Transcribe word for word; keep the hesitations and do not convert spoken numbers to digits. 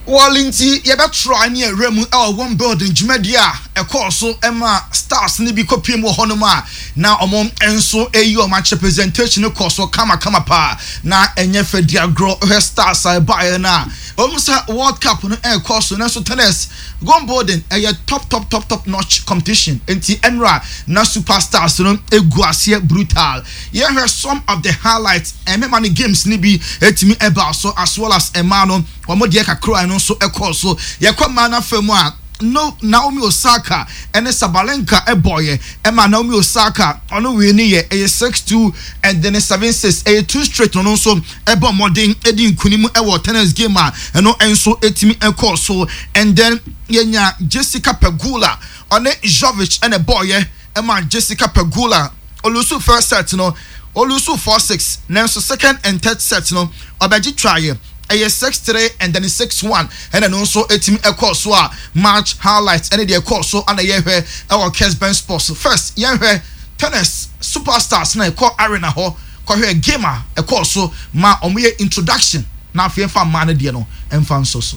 Wɔle nti yɛbɛtry ne awura mu ɛwɔ Wimbledon dwumadie a ɛkɔɔ so ɛma stars ne bi kɔpie mu wɔ hɔnom a na ɔmo nso ɛyi ɔmo akyɛ. Presentation kɔ so kamakama paa na ɛnyɛ fɛ di agorɔ. Hwɛ stars a ɛbaeɛ no a wɔn sɛ World Cup no ɛrekɔ so, nanso tennis Wimbledon ɛyɛ top, top, top, top notch competition. Nti ɛnura na superstars no egu aseɛ brutal. Yɛhwɛ some of the highlights. Ɛmɛma no games ni bi etimi ɛba so, as well as ɛmaa no wɔn deɛ kakra no nso ɛkɔɔ so. Yɛkɔ mmaa n'afɛ mu a, no, Naomi Osaka ɛne Sabalenka ɛbɔɔyɛ ɛma Naomi Osaka ɔno wei ni yɛ ɛyɛ six two and then seven six, ɛyɛ two straight. Ɔno nso ɛbɔ mmɔden ɛdi nkunim ɛwɔ tennis game a ɛno nso ɛtumi ɛkɔɔ so. And then yɛnya Jessica Pegula, ɔne Jovic ɛna ɛbɔɔyɛ ɛma Jessica Pegula ɔlose first set no, ɔlose four six, nanso second and third set no ɔbɛgye twaayɛ, ɛyɛ six three and then six one. Ɛna no nso etimi ɛkɔɔ so a match highlights ɛne deɛ ɛkɔɔ so ana yɛhwɛ ɛwɔ Kesben Sports. First, yɛhwɛ tennis superstars na ɛkɔ arena hɔ kɔhwɛ game a ɛkɔɔ so ma wɔn yɛ introduction, na afei ɛfa mmaa no deɛ no ɛmfa nso so.